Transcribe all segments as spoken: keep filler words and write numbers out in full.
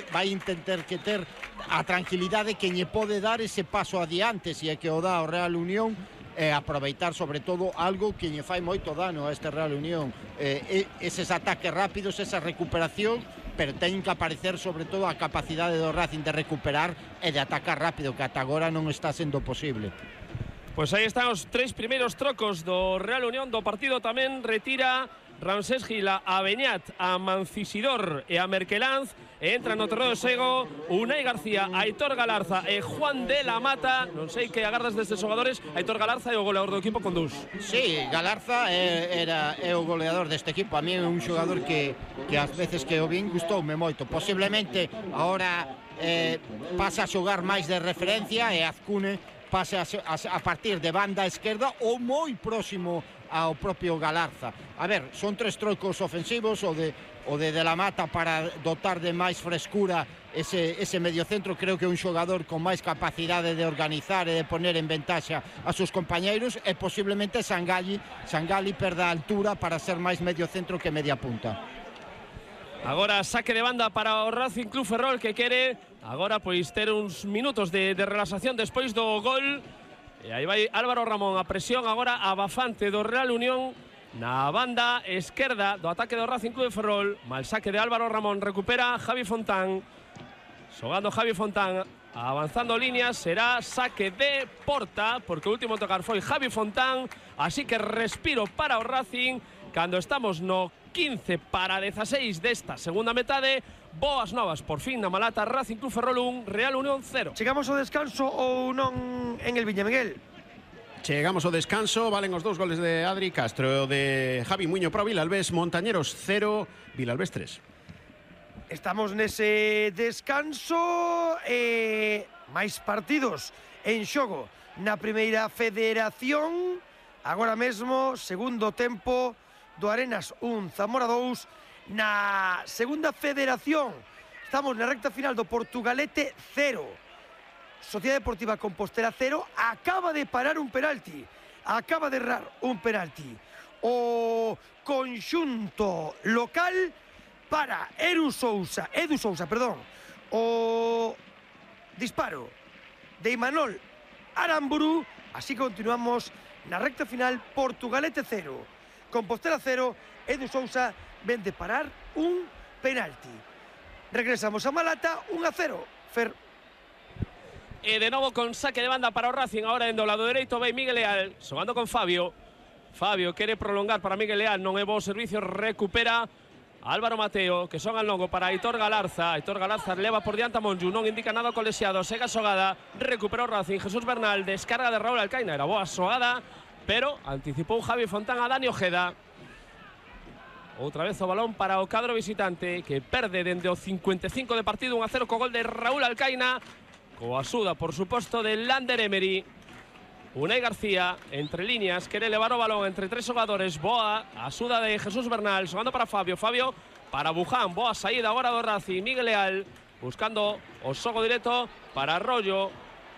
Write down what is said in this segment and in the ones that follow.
vai intentar que ter a tranquilidade que lle pode dar ese paso adiante, se é que o dá o Real Unión, e aproveitar sobre todo algo que lle fai moito dano a este Real Unión, eh, eses ataques rápidos, esa recuperación, pero teñen que aparecer sobre todo a capacidade do Racing de recuperar e de atacar rápido, que ata agora non está sendo posible. Pois aí están os tres primeiros trocos do Real Unión do partido. Tamén retira Ramsés Gila a Beñat, a Mancisidor e a Merkelanz. Entra no terreno de xogo Unai García, Aitor Galarza e Juan de la Mata. Non sei que agardas destes xogadores. Aitor Galarza é o goleador do equipo con dous. Sí, Galarza é, era, é o goleador deste equipo. A mí é un xogador que, que ás veces que o vin gustoume moito. Posiblemente agora eh, pasa a xogar máis de referencia e Azcune pase a, a, a partir de banda esquerda ou moi próximo ao propio Galarza. A ver, son tres trocos ofensivos, o de o de De la Mata para dotar de máis frescura ese, ese mediocentro. Creo que é un xogador con máis capacidade de organizar e de poner en ventaxa a seus compañeiros, e posiblemente Sangalli, Sangalli perda altura para ser máis mediocentro que media punta. Agora saque de banda para o Racing Club Ferrol, que quere agora pois ter uns minutos de, de relaxación despois do gol. E aí vai Álvaro Ramón, a presión agora abafante do Real Unión na banda esquerda do ataque do Racing Club Ferrol. Mal saque de Álvaro Ramón, recupera Javi Fontán, xogando Javi Fontán, avanzando líneas, será saque de porta, porque o último tocar foi Javi Fontán. Así que respiro para o Racing cando estamos no quince para dieciséis desta segunda metade. Boas novas, por fin, na Malata. Racing Club Ferrol un, Real Unión cero. Chegamos ao descanso ou non en el Viña Miguel? Chegamos ao descanso, valen os dous goles de Adri Castro e o de Javi Muño pro Vilalbés. Montañeros cero, Vilalbés tres. Estamos nese descanso e máis partidos en xogo na primeira federación. Agora mesmo, segundo tempo do Arenas un, Zamora dous. Na segunda federación estamos na recta final do Portugalete cero, Sociedade Deportiva Compostela cero. Acaba de parar un penalti, acaba de errar un penalti o conxunto local para Edu Sousa, Edu Sousa, perdón. O disparo de Imanol Aramburu. Así continuamos na recta final. Portugalete cero, Compostela cero. Edu Sousa ven de parar un penalti. Regresamos a Malata, un a cero. Fer. E de novo con saque de banda para o Racing. Ahora en do lado dereito vai Miguel Leal, xogando con Fabio. Fabio quere prolongar para Miguel Leal, non é bo servicio, recupera Álvaro Mateo, que son al longo para Aitor Galarza. Aitor Galarza leva por diante a Monju, non indica nada o colexiado, sega xogada, recupera o Racing. Jesús Bernal, descarga de Raúl Alcaina, era boa xogada, pero anticipou Javi Fontán a Dani Ojeda. Outra vez o balón para o cadro visitante, que perde dende o cincuenta e cinco de partido un a cero co gol de Raúl Alcaina, coa axuda, por suposto, de Lander Emery. Unai García, entre líneas, quere levar o balón entre tres xogadores. Boa, axuda de Jesús Bernal, xogando para Fabio. Fabio para Buján, boa saída agora do Racing. Miguel Leal, buscando o xogo directo para Arroyo.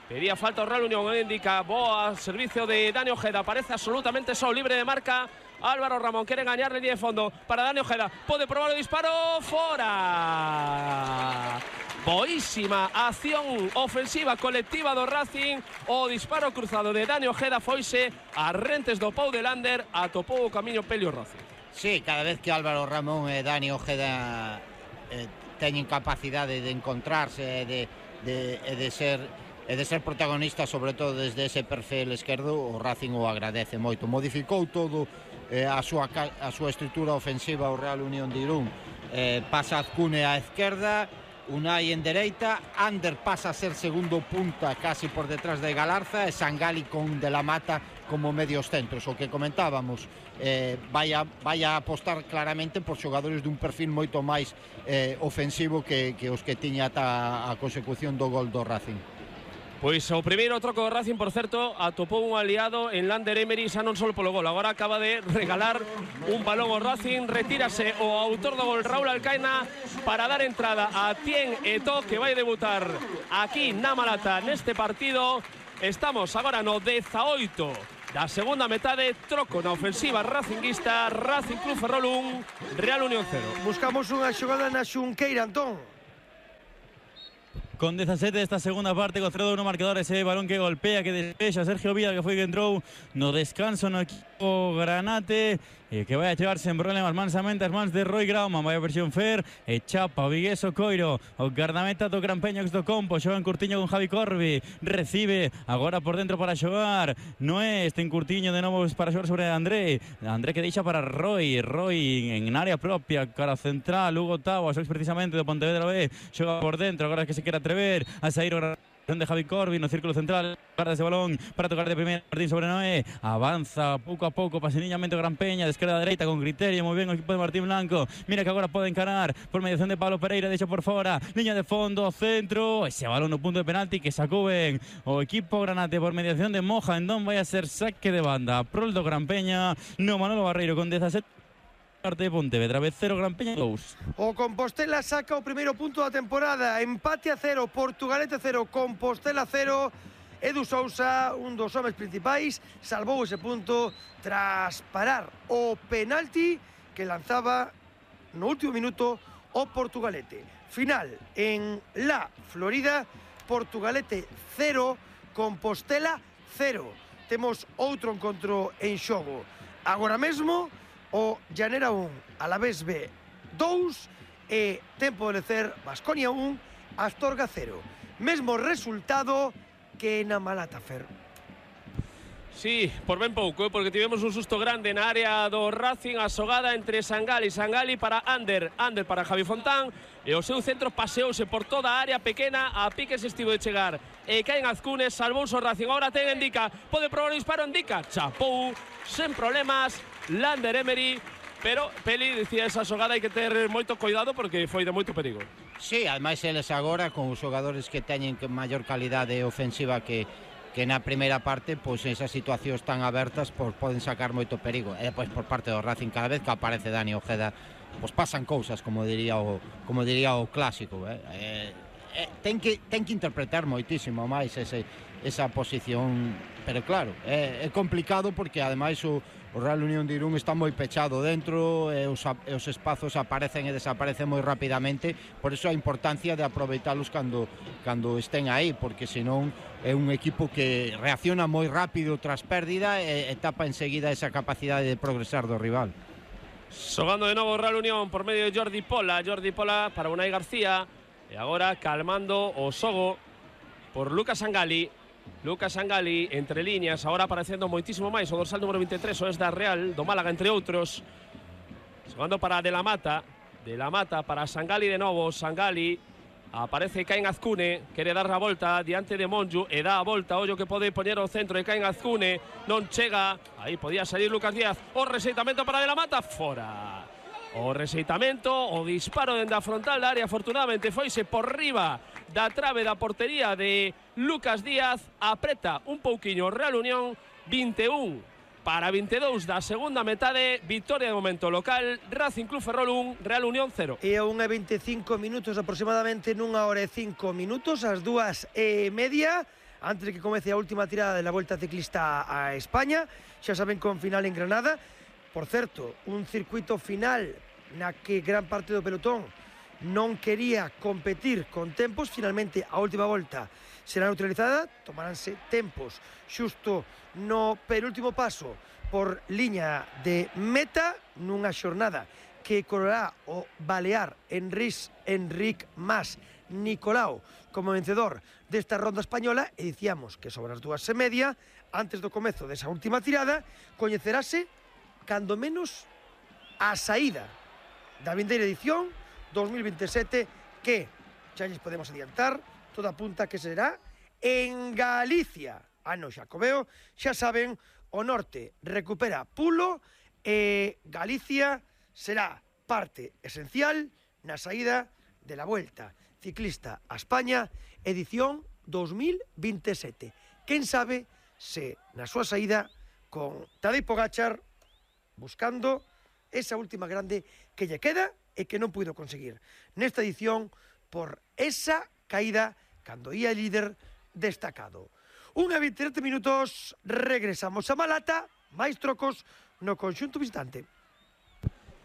Pedía falta o Real Unión, indica. Boa, servicio de Dani Ojeda, parece absolutamente só, libre de marca. Álvaro Ramón quere gañar línea de fondo para Dani Ojeda. Pode probar o disparo, fora. Boísima acción ofensiva colectiva do Racing. O disparo cruzado de Dani Ojeda foise a rentes do Pou de Lander. Atopou o camiño Pelio Racing. Sí, cada vez que Álvaro Ramón e Dani Ojeda eh, teñen capacidade de encontrarse e de, de, de ser e de ser protagonista, sobre todo desde ese perfil esquerdo, o Racing o agradece moito. Modificou todo eh, a, súa, a súa estrutura ofensiva o Real Unión de Irún. Eh, pasa Azcune á esquerda, Unai en dereita, Ander pasa a ser segundo punta casi por detrás de Galarza, e Sangalli con De la Mata como medios centros. O que comentábamos, eh, vai, a, vai a apostar claramente por xogadores dun perfil moito máis eh, ofensivo que, que os que tiña ata a consecución do gol do Racing. Pois o primeiro troco do Racing, por certo, atopou un aliado en Lander Emery, xa non só polo gol, agora acaba de regalar un balón ao Racing. Retírase o autor do gol, Raúl Alcaina, para dar entrada a Tien Eto, que vai debutar aquí na Malata neste partido. Estamos agora no dezaoito da segunda metade. Troco na ofensiva racinguista. Racing Club Ferrol un, Real Unión cero. Buscamos unha xogada na Xunqueira, Antón. con dezasete desta segunda parte, co cero a uno marcador, ese balón que golpea, que despexa Sergio Vila, que foi que entrou no descanso no equipo granate, e que vai a chegar sen problemas mansamente as mans de Roy Grauman. Vai a versión Fer, e chapa o Vigueso Coiro, o guardameta do Grampeño do Compo, xoga en Curtiño con Javi Corbi, recibe agora por dentro para xogar Noé, este en Curtiño de novo para xogar sobre André, André que deixa para Roy, Roy en área propia, cara central, Hugo Tavo, xoga precisamente do Pontevedra B, xoga por dentro, agora que se quere atrever a sair o de Javi Corbi no círculo central, guarda ese balón para tocar de primeira, Martín sobre Noé, avanza pouco a pouco, paseniñamente o Gran Peña, de esquerda a dereita con criterio, moi ben o equipo de Martín Blanco, mira que agora pode encarar por mediación de Pablo Pereira, deixa por fora, liña de fondo, centro, ese balón no punto de penalti que sacou ben o equipo granate por mediación de Moja, entón vai a ser saque de banda, prol do Gran Peña, no Manolo Barreiro con dezasete parte de Pontevedra, B cero, Gran Peña dous. O Compostela saca o primeiro punto da temporada, empate a cero, Portugalete cero, Compostela cero. Edu Sousa, un dos homes principais, salvou ese punto tras parar o penalti que lanzaba no último minuto o Portugalete. Final en La Florida, Portugalete cero, Compostela cero. Temos outro encontro en xogo. Agora mesmo o Llanera un, Alavés B dous e tempo de lecer Baskonia un, Astorga cero. Mesmo resultado que na Malata, Fer. Sí, por ben pouco, eh, porque tivemos un susto grande na área do Racing, a xogada entre Sangali, Sangali para Ander, Ander para Javi Fontán, e o seu centro paseouse por toda a área pequena, a piques estivo de chegar, e caen Azcunes, salvouse o Racing, agora ten Endica, pode probar o disparo Endica, chapou, sen problemas, Lander Emery, pero Peli dicía esa xogada hai que ter moito cuidado porque foi de moito perigo. Sí, ademais eles agora con os xogadores que teñen maior calidade ofensiva que que na primeira parte, pois esas situacións tan abertas pois poden sacar moito perigo. E depois por parte do Racing, cada vez que aparece Dani Ojeda, pois pasan cousas, como diría o como diría o clásico, eh? Eh, eh, ten que ten que interpretar moitísimo máis ese esa posición, pero claro, é, é complicado porque ademais o O Real Unión de Irún está moi pechado dentro, e os, e os espazos aparecen e desaparecen moi rapidamente, por iso a importancia de aproveitalos cando, cando estén aí, porque senón é un equipo que reacciona moi rápido tras pérdida e, e tapa enseguida esa capacidade de progresar do rival. Xogando de novo o Real Unión por medio de Jordi Pola, Jordi Pola para Unai García, e agora calmando o xogo por Lucas Sangali. Lucas Sangali, entre líneas, agora aparecendo moitísimo máis o dorsal número veintitrés, o es da Real, do Málaga, entre outros. Xogando para De la Mata, De la Mata para Sangali de novo, Sangali, aparece Caín Azcune, quere dar a volta diante de Monju, e dá a volta, ollo que pode poñer o centro de Caín Azcune, non chega, aí podía salir Lucas Díaz, o rexeitamento para De la Mata, fora. O rexeitamento, o disparo dende a frontal da área, afortunadamente foise por riba da trave da portería de Lucas Díaz, apreta un pouquiño Real Unión, vinte e un para vinte e dous da segunda metade, victoria de momento local, Racing Club Ferrol un, Real Unión cero. E a unha e veinticinco minutos aproximadamente, nunha hora e cinco minutos, as dúas e media, antes de que comece a última tirada de la Volta Ciclista a España, xa saben, con final en Granada. Por certo, un circuito final na que gran parte do pelotón non quería competir con tempos, finalmente a última volta será neutralizada, tomaránse tempos xusto no penúltimo paso por liña de meta nunha xornada que correrá o balear Enric, Enric Mas Nicolau como vencedor desta ronda española, e dicíamos que sobre as dúas e media, antes do comezo desa última tirada, coñecerase cando menos a saída da vindeira edición dos mil veintisiete, que xa lles podemos adiantar, toda apunta que será en Galicia. Ano Xacobeo, xa saben, o norte recupera pulo e Galicia será parte esencial na saída de la Vuelta Ciclista a España edición dos mil veintisiete. Quen sabe se na súa saída con Tadej Pogačar buscando esa última grande que lle queda e que non puido conseguir nesta edición por esa caída cando ia líder destacado. Unha vinte e sete minutos, regresamos a Malata, máis trocos no conxunto visitante.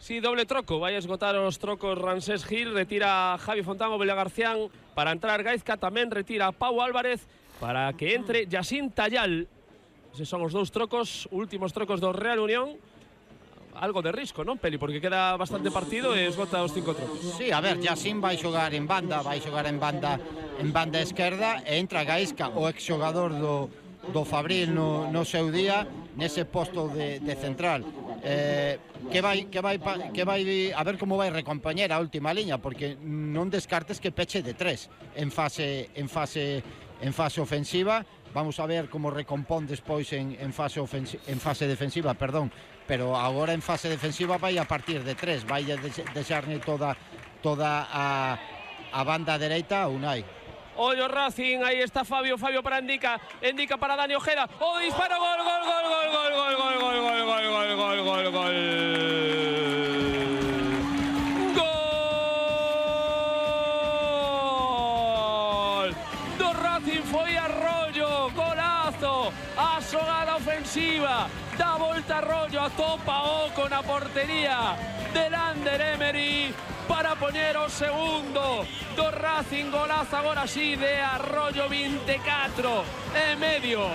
Sí, doble troco, vai a esgotar os trocos Ramsés Gil, retira Javi Fontán o Bela Garcián para entrar Gaizka, tamén retira Pau Álvarez para que entre Yacine Tallal. Eses son os dous trocos, últimos trocos do Real Unión. Algo de risco, non, Peli? Porque queda bastante partido e esgota os cinco trocos. Sí, a ver, Yacine vai xogar en banda, vai xogar en banda en banda esquerda e entra Gaizka, o exxogador do, do Fabril no, no seu día, nese posto de, de central. Eh, que vai, que vai, que vai a ver como vai recompoñer a última liña, porque non descartes que peche de tres en fase, en fase, en fase ofensiva. Vamos a ver como recompón despois en, en, fase en fase defensiva, perdón, pero agora en fase defensiva vai a partir de tres, vai a deixarne toda, toda a, a banda dereita a Unai. Ollo Racing, aí está Fabio, Fabio para Endica, Endica para Dani Ojeda, o disparo, gol, gol, gol, gol, gol, gol, gol, gol, gol, gol, gol, gol, gol, gol. Do Racing foi Arroyo, golazo, a xogada ofensiva, da volta Arroyo, a topa o con a portería de Lander Emery para poñer o segundo do Racing, golazo agora sí de Arroyo, veinticuatro e medio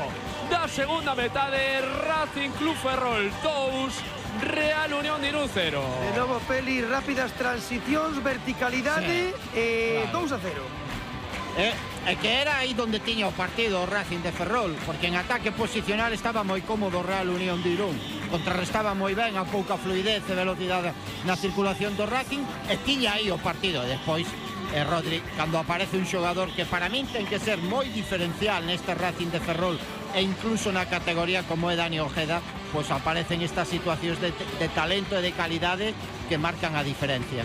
da segunda metade. Racing Club Ferrol dous, Real Unión de Irún cero. De novo, Peli, rápidas transicións, verticalidade, sí. eh, claro. dous a cero. É, é que era aí donde tiña o partido o Racing de Ferrol, porque en ataque posicional estaba moi cómodo o Real Unión de Irún, contrarrestaba moi ben a pouca fluidez e velocidade na circulación do Racing, e tiña aí o partido. E despois, eh, Rodri, cando aparece un xogador que para min ten que ser moi diferencial neste Racing de Ferrol e incluso na categoría como é Dani Ojeda, pois aparecen estas situacións de, de talento e de calidade que marcan a diferencia.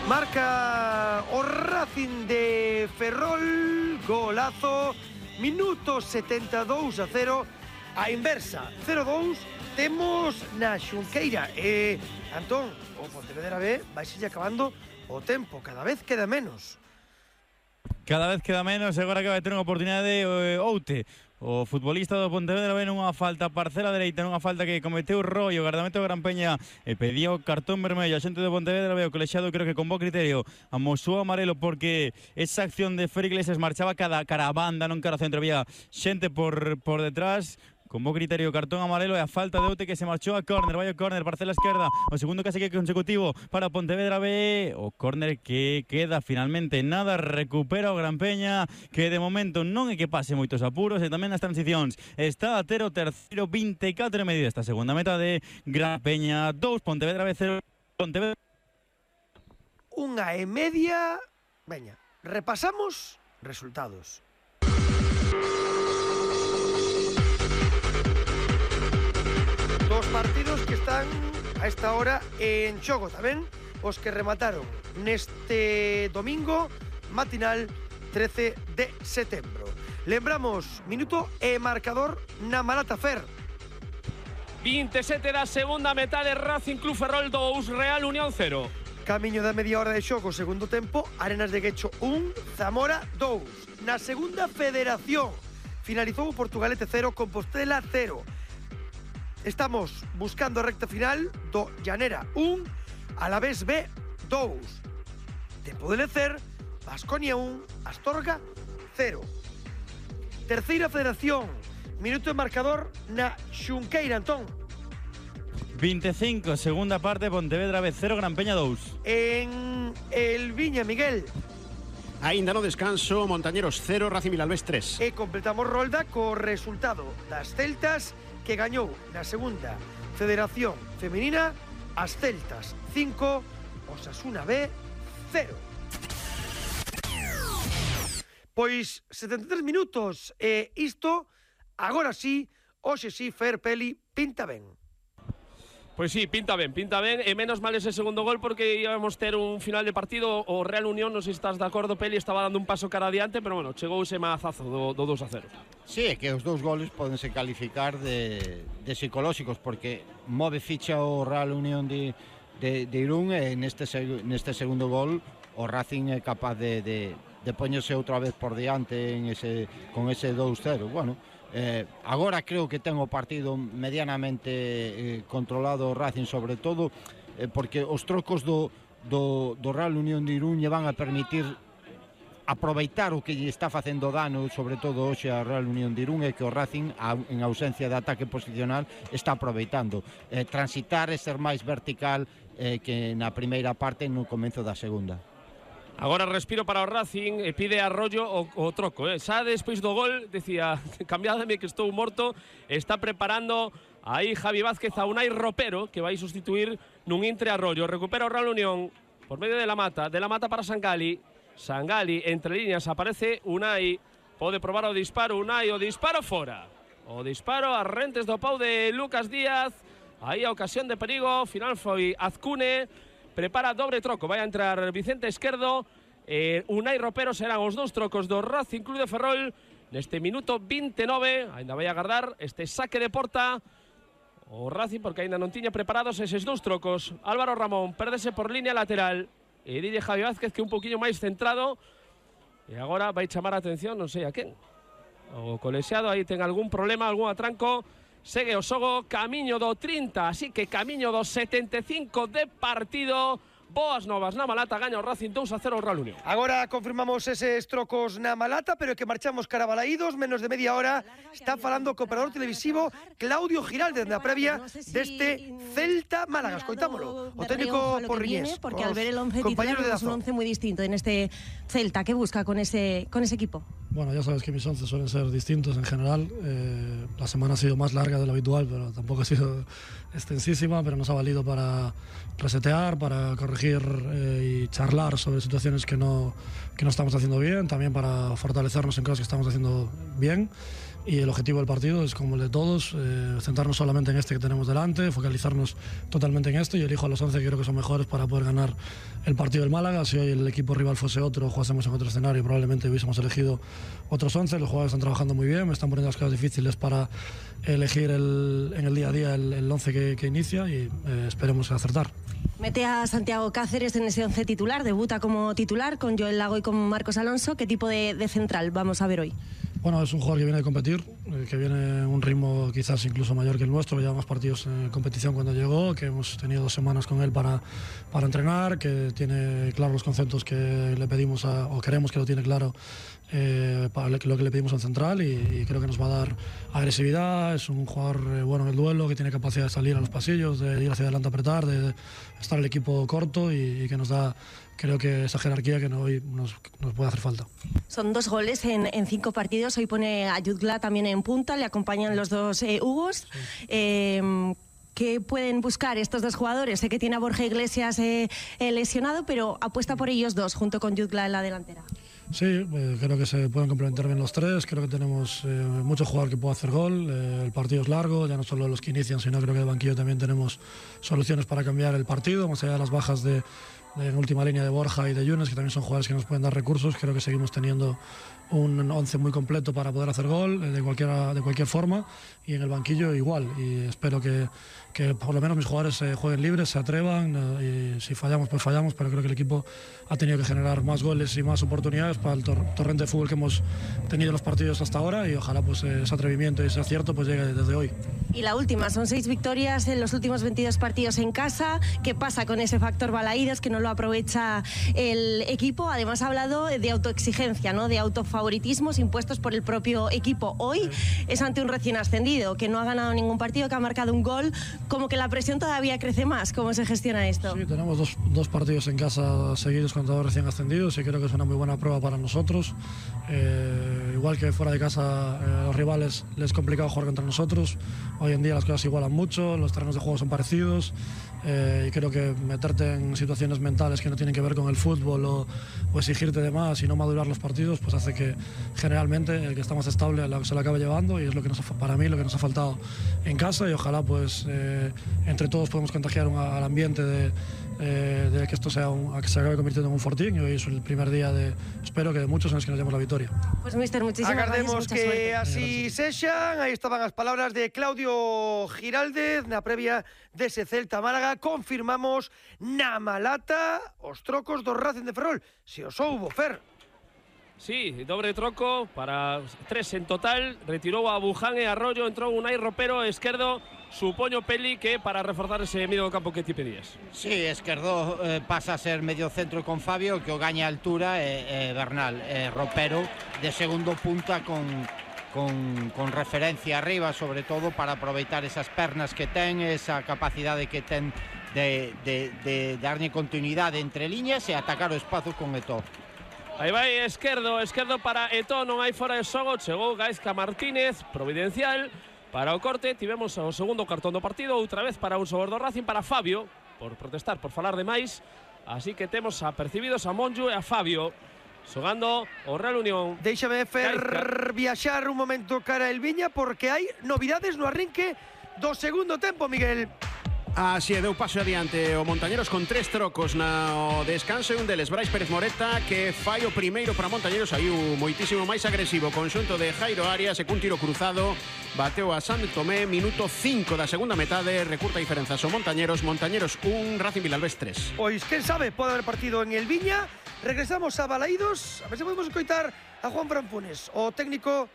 Marca o Racing de Ferrol, golazo, minuto setenta e dous a cero, a inversa, cero dous, temos na Xunqueira. E, Antón, o Pontevedra B vai seguir acabando o tempo, cada vez queda menos. Cada vez queda menos, agora que vai ter unha oportunidade de Oute. O futbolista do Pontevedra ven unha falta parcela dereita, nunha falta que cometeu Roy, o guardameta do Gran Peña e pediu cartón vermello. A xente do Pontevedra veo colexiado, creo que con bo criterio amosou amarelo porque esa acción de Fer Iglesias marchaba cada cara a banda, non cara ao centro, había xente por, por detrás. Con bo criterio, cartón amarelo e a falta de Oute que se marchou a córner. Vai o córner, parcela esquerda, o segundo casi que consecutivo para Pontevedra B. O córner que queda finalmente nada, recupera o Gran Peña, que de momento non é que pase moitos apuros e tamén nas transicións está a ter o terceiro, veinticuatro e medio esta segunda meta de Gran Peña dous, Pontevedra B cero. Pontevedra unha e media. Veña, repasamos resultados. Dos partidos que están a esta hora en xogo tamén, os que remataron neste domingo matinal trece de setembro. Lembramos, minuto e marcador na Malata Fer. veintisiete da segunda metade, Racing Club Ferrol dous, Real Unión cero. Camiño da media hora de xogo, segundo tempo, Arenas de Guecho un, Zamora dous. Na segunda federación finalizou o Portugalete cero, Compostela cero. Estamos buscando a recta final do Llanera un, Alavés B dous. Tempo de lecer, Baskonia un, Astorga cero. Terceira federación, minuto de marcador na Xunqueira, Antón. veinticinco, segunda parte, Pontevedra B cero, Gran Peña dous. En el Viña, Miguel. Aínda no descanso, Montañeros cero, Racing Vilalbés tres. E completamos rolda co resultado das Celtas, que gañou na segunda federación femenina, as Celtas cinco, Osasuna B cero. Pois setenta e tres minutos e isto, agora sí, hoxe sí, Fer, Peli, pinta ben. Pois sí, pinta ben, pinta ben, e menos mal ese segundo gol porque íbamos ter un final de partido. O Real Unión, non sei se estás de acordo, Peli, estaba dando un paso cara adiante, pero bueno, chegou ese mazazo do, do dos a cero. Sí, é que os dous goles podense calificar de, de psicolóxicos, porque move ficha o Real Unión de, de, de Irún, e neste, neste segundo gol o Racing é capaz de, de, de poñerse outra vez por diante en ese, con ese dous cero. Bueno, Eh, agora creo que ten o partido medianamente eh, controlado o Racing, sobre todo eh, porque os trocos do, do, do Real Unión de Irún lle van a permitir aproveitar o que lle está facendo dano, sobre todo hoxe a Real Unión de Irún, e que o Racing, en ausencia de ataque posicional, está aproveitando. Eh, transitar e ser máis vertical eh, que na primeira parte no comezo da segunda. Agora respiro para o Racing e pide Arroyo o, o troco, eh. Xa despois do gol, decía, cambiádame que estou morto, está preparando aí Javi Vázquez a Unai Ropero, que vai sustituir nun Intre Arroyo. Recupera o Real Unión por medio de la Mata, de la Mata para Sangali. Sangali, entre líneas, aparece Unai, pode probar o disparo, Unai, o disparo fora. O disparo a rentes do pau de Lucas Díaz, aí a ocasión de perigo, final foi Azcune, prepara dobre troco, vai a entrar Vicente Esquerdo, eh, Unai Ropero, serán os dous trocos do Racing Club de Ferrol, neste minuto vinte e nove, ainda vai a agardar este saque de porta, o Racing, porque ainda non tiña preparados eses dous trocos. Álvaro Ramón, pérdese por línea lateral, e dille Javi Vázquez que un poquinho máis centrado, e agora vai chamar a atención, non sei a quen. O colexiado aí ten algún problema, algún atranco. Segue o xogo, camiño do trinta, así que camiño do setenta e cinco de partido. Boas novas na Malata, gaña o Racing dous a cero o Real Unión. Agora confirmamos eses trocos na Malata, pero que marchamos cara a Balaídos, menos de media hora. Está falando o cooperador televisivo Claudio Giraldez na previa deste Celta Málaga. Escoitámolo, o técnico Porriñés. Porque al ver el once titular es un once muy distinto en este Celta. ¿Qué busca con ese, con ese equipo? Bueno, ya sabes que mis once suelen ser distintos en general. Eh, la semana ha sido más larga de lo habitual, pero tampoco ha sido extensísima, pero nos ha valido para resetear, para corregir eh, y charlar sobre situaciones que no, que no estamos haciendo bien, también para fortalecernos en cosas que estamos haciendo bien. Y el objetivo del partido es, como el de todos, eh, centrarnos solamente en este que tenemos delante, focalizarnos totalmente en esto. Yo elijo a los once que creo que son mejores para poder ganar el partido del Málaga. Si hoy el equipo rival fuese otro, jugásemos en otro escenario, probablemente hubiésemos elegido otros once. Los jugadores están trabajando muy bien, me están poniendo las cosas difíciles para elegir el, en el día a día el, el once que, que inicia y eh, esperemos acertar. Mete a Santiago Cáceres en ese once titular, debuta como titular con Joel Lago y con Marcos Alonso. ¿Qué tipo de, de central vamos a ver hoy? Bueno, es un jugador que viene de competir, eh, que viene en un ritmo quizás incluso mayor que el nuestro. Lleva más partidos en competición cuando llegó, que hemos tenido dos semanas con él para, para entrenar, que tiene claros los conceptos que le pedimos a, o queremos que lo tiene claro eh, para lo que le pedimos al central, y, y creo que nos va a dar agresividad. Es un jugador eh, bueno en el duelo, que tiene capacidad de salir a los pasillos, de ir hacia adelante a apretar, de, de estar el equipo corto y, y que nos da, creo que esa jerarquía que no, hoy nos, nos puede hacer falta. Son dos goles en, en cinco partidos. Hoy pone a Jutgla también en punta, le acompañan los dos eh, Hugos. Sí. Eh, ¿Qué pueden buscar estos dos jugadores? Sé que tiene a Borja Iglesias eh, eh, lesionado, pero apuesta por ellos dos junto con Jutgla en la delantera. Sí, eh, creo que se pueden complementar bien los tres. Creo que tenemos eh, mucho jugador que puede hacer gol. Eh, el partido es largo, ya no solo los que inician, sino creo que de banquillo también tenemos soluciones para cambiar el partido, más allá de las bajas de, de en última línea de Borja y de Yunes, que también son jugadores que nos pueden dar recursos. Creo que seguimos teniendo un once muy completo para poder hacer gol eh, de, cualquiera, de cualquier forma, y en el banquillo igual. Y espero que, que por lo menos mis jugadores eh, jueguen libres, se atrevan, eh, y si fallamos pues fallamos, pero creo que el equipo ha tenido que generar más goles y más oportunidades para el tor torrente de fútbol que hemos tenido en los partidos hasta ahora, y ojalá pues eh, ese atrevimiento y ese acierto pues llegue desde hoy. Y la última, son seis victorias en los últimos veintidós partidos en casa. ¿Qué pasa con ese factor Balaídos que no lo aprovecha el equipo? Además ha hablado de autoexigencia, ¿no? De autofavoritismos impuestos por el propio equipo. Hoy es ante un recién ascendido que no ha ganado ningún partido, que ha marcado un gol. Como que la presión todavía crece más. ¿Cómo se gestiona esto? Sí, tenemos dos, dos partidos en casa seguidos contra dos recién ascendidos, y creo que es una muy buena prueba para nosotros. Eh, igual que fuera de casa eh, a los rivales les es complicado jugar contra nosotros. Hoy en día las cosas se igualan mucho, los terrenos de juego son parecidos, eh, y creo que meterte en situaciones mentales que no tienen que ver con el fútbol o, o exigirte de más y no madurar los partidos, pues hace que generalmente el que está más estable se lo acabe llevando, y es lo que nos ha, para mí lo que nos ha faltado en casa, y ojalá pues eh, entre todos podemos contagiar un, al ambiente de, eh, de que esto sea un, que se acabe convirtiendo en un fortín, y hoy es el primer día de, espero que de muchos en los que nos llevemos la victoria. Pues mister, muchísimas Agardemos gracias, que suerte. así sexan. Aí estaban as palabras de Claudio Giraldez na previa dese Celta Málaga. Confirmamos na Malata os trocos do Racing de Ferrol. Se os houbo, Fer. Sí, dobre troco para tres en total. Retirou a Buján e Arroyo, entrou Unai Ropero, esquerdo, supoño Peli, que para reforzar ese medio do campo que ti pedías. Sí, esquerdo eh, pasa a ser medio centro con Fabio, que o gaña altura, e eh, eh, Bernal, eh, Ropero de segundo punta con, con, con referencia arriba, sobre todo para aproveitar esas pernas que ten, esa capacidade que ten de, de, de darlle continuidade entre liñas e atacar o espazo con Eto'o. Aí vai esquerdo, esquerdo para Eto'o, non hai fora de xogo, chegou Gaizka Martínez, providencial, para o corte, tivemos o segundo cartón do partido, outra vez para un xogador do Racing, para Fabio, por protestar, por falar de máis, así que temos apercibidos a Monju e a Fabio, xogando o Real Unión. Déixame fer Gaizka. viaxar un momento cara el Viña, porque hai novidades no arrinque do segundo tempo, Miguel. Así é, deu paso adiante o Montañeros con tres trocos no descanso e un deles Brais Pérez Moreta, que fai o primeiro para Montañeros, aí o moitísimo máis agresivo conxunto de Jairo Arias, e cun tiro cruzado bateu a San Tomé, minuto cinco da segunda metade, recurta diferenzas o Montañeros. Montañeros un, Racing Vilalbés tres. Pois, quen sabe, pode haber partido en el Viña. Regresamos a Balaídos, a ver se podemos escoitar a Juan Fran Funes, o técnico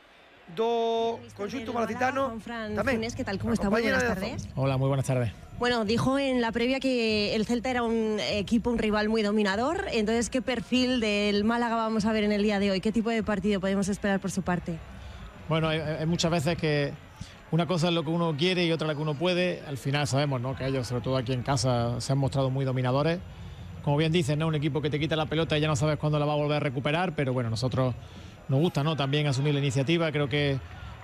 do conxunto malacitano. Juan Fran tamén, Funes, ¿qué tal? ¿Cómo está? Muy buenas tardes. Hola, muy buenas tardes. Bueno, dijo en la previa que el Celta era un equipo, un rival muy dominador. Entonces, ¿qué perfil del Málaga vamos a ver en el día de hoy? ¿Qué tipo de partido podemos esperar por su parte? Bueno, hay, hay muchas veces que una cosa es lo que uno quiere y otra lo que uno puede. Al final sabemos, ¿no?, que ellos, sobre todo aquí en casa, se han mostrado muy dominadores. Como bien dices, ¿no?, un equipo que te quita la pelota y ya no sabes cuándo la va a volver a recuperar, pero bueno, nosotros nos gusta, ¿no?, también asumir la iniciativa. Creo que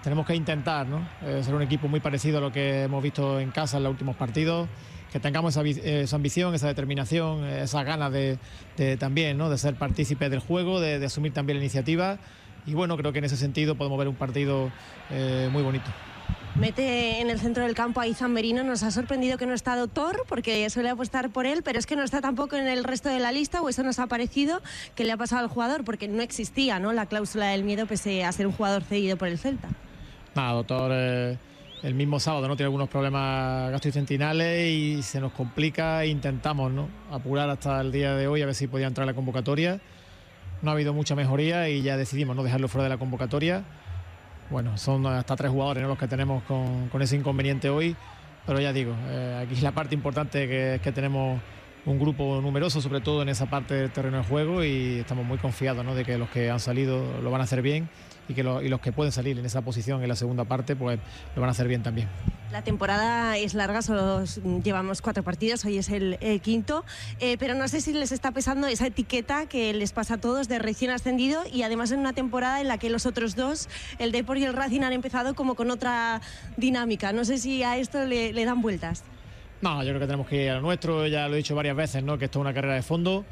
tenemos que intentar, ¿no?, eh, ser un equipo muy parecido a lo que hemos visto en casa en los últimos partidos, que tengamos esa, esa ambición, esa determinación, esas ganas de, de también, ¿no?, de ser partícipes del juego, de, de asumir también la iniciativa. Y bueno, creo que en ese sentido podemos ver un partido eh, muy bonito. Mete en el centro del campo a Izan Merino. Nos ha sorprendido que no está Doctor, porque suele apostar por él, pero es que no está tampoco en el resto de la lista, o eso nos ha parecido que le ha pasado al jugador, porque no existía, ¿no?, la cláusula del miedo pese a ser un jugador cedido por el Celta. Nada, Doctor, eh, el mismo sábado, ¿no?, tiene algunos problemas gastrointestinales y se nos complica e intentamos, ¿no?, apurar hasta el día de hoy a ver si podía entrar a la convocatoria. No ha habido mucha mejoría y ya decidimos no dejarlo fuera de la convocatoria. Bueno, son hasta tres jugadores, ¿no?, los que tenemos con, con ese inconveniente hoy, pero ya digo, eh, aquí la parte importante que es que tenemos un grupo numeroso, sobre todo en esa parte del terreno de juego, y estamos muy confiados, ¿no?, de que los que han salido lo van a hacer bien y que lo, y los que pueden salir en esa posición en la segunda parte, pues lo van a hacer bien también. La temporada es larga, solo llevamos cuatro partidos, hoy es el, el quinto, eh, pero no sé si les está pesando esa etiqueta que les pasa a todos de recién ascendido, y además en una temporada en la que los otros dos, el Depor y el Racing, han empezado como con otra dinámica. No sé si a esto le, le dan vueltas. No, yo creo que tenemos que ir a lo nuestro, ya lo he dicho varias veces, ¿no?, que esto es una carrera de fondo.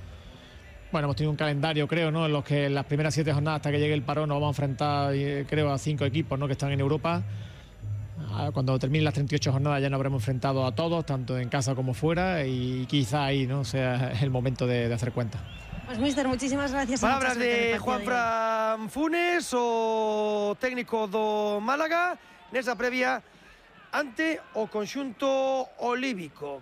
Bueno, hemos tenido un calendario, creo, ¿no?, en los que en las primeras siete jornadas hasta que llegue el parón nos vamos a enfrentar, creo, a cinco equipos, ¿no?, que están en Europa. Cuando terminen las treinta y ocho jornadas ya nos habremos enfrentado a todos, tanto en casa como fuera, y quizá ahí, ¿no?, sea el momento de, de hacer cuenta. Pues, mister, muchísimas gracias. Palabras de Juan Fran Funes, o técnico do Málaga, nesa previa ante o conxunto olívico.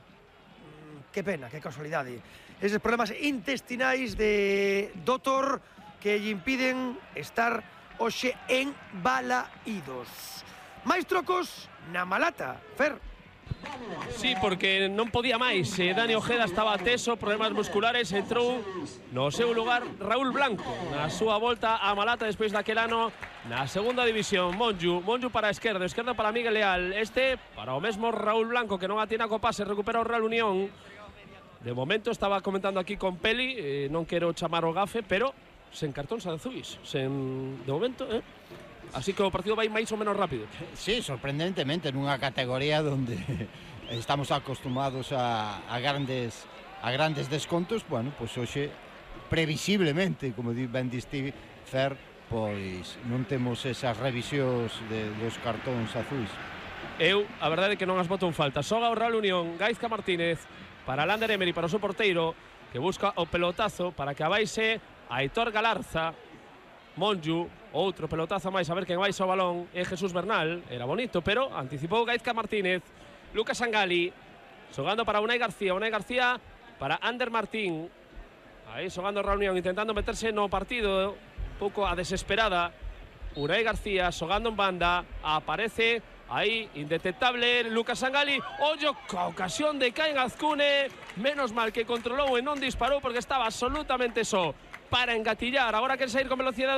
Que pena, que casualidade. Eses problemas intestinais de Doctor que lle impiden estar hoxe en Balaídos. Máis trocos na Malata, Fer. Sí, porque non podía máis. eh, Dani Ojeda estaba teso, problemas musculares, entrou no seu lugar Raúl Blanco na súa volta a Malata despois daquel ano na segunda división. Monju, Monju para a esquerda, esquerda para Miguel Leal, este para o mesmo Raúl Blanco, que non atina co pase, recupera o Real Unión. De momento estaba comentando aquí con Peli, eh, non quero chamar o gafe, pero sen cartóns azuis, sen, de momento, eh? Así que o partido vai máis ou menos rápido. Sí, sorprendentemente, nunha categoría donde estamos acostumados a, a grandes a grandes descontos. Bueno, pois hoxe previsiblemente, como ben diste, Fer, pois non temos esas revisións de, dos cartóns azuis. Eu, a verdade é que non as boto en falta. Xoga o Real Unión, Gaizka Martínez para Lander Emery, para o seu porteiro, que busca o pelotazo para que abaixe a Aitor Galarza. Monju, outro pelotazo máis, a ver quen vai ao balón, é Jesús Bernal. Era bonito, pero anticipou Gaizka Martínez. Lucas Angali xogando para Unai García, Unai García para Ander Martín. Aí xogando Reunión, intentando meterse no partido un pouco a desesperada. Unai García xogando en banda, aparece aí, indetectable, Lucas Sangali. Ollo, ca ocasión de Caín Azcune. Menos mal que controlou e non disparou porque estaba absolutamente só para engatillar. Agora quere sair con velocidade